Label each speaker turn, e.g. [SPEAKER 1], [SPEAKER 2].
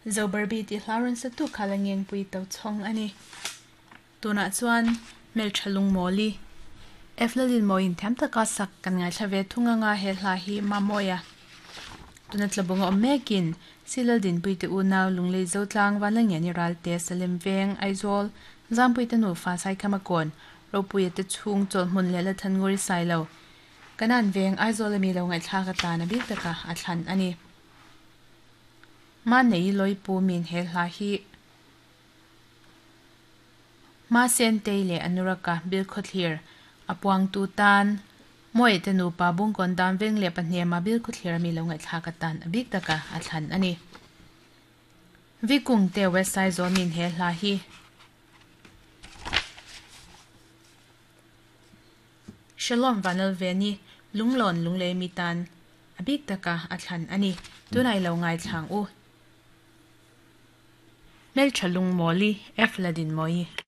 [SPEAKER 1] Zo Barbie tih hla rawn sa tu kha la ngengpui to chhawng a ni. Tunah chuan hmeltha lungmawli Eflalin mawiin thiam taka sak kan ngaithla ve thung anga he hla hi Mamawia tuna tlabung a awm mekin Silal Dinpuite unau Lunglei Zotlang Vanlalngiani Ralte Salem Veng Aizawl Zampuite nufa Saikhama Kawn Ropuia te chhung chawlhmun leh Lathannguri Sailo Kanan Veng Aizawl ami lo ngaihthlak atan a bik taka a thlan a ni. Manei Lawipu min he hla hi Masentei leh Anuraka Bilkhawthlir a puangtu tan Mawite nupa Bungkawn dan veng leh pahnema Bilkhawthlir ami lo ngaihthlak atan a bik taka a thlan a ni. Vikungte West Aizawl min he hla hi Shalom Vanlalveni Lunglawn Lunglei mi tan a bik taka a thlan a ni. Tunah i lo ngaithlang u. Hmeltha Lungmawli, F. Ladinmawii.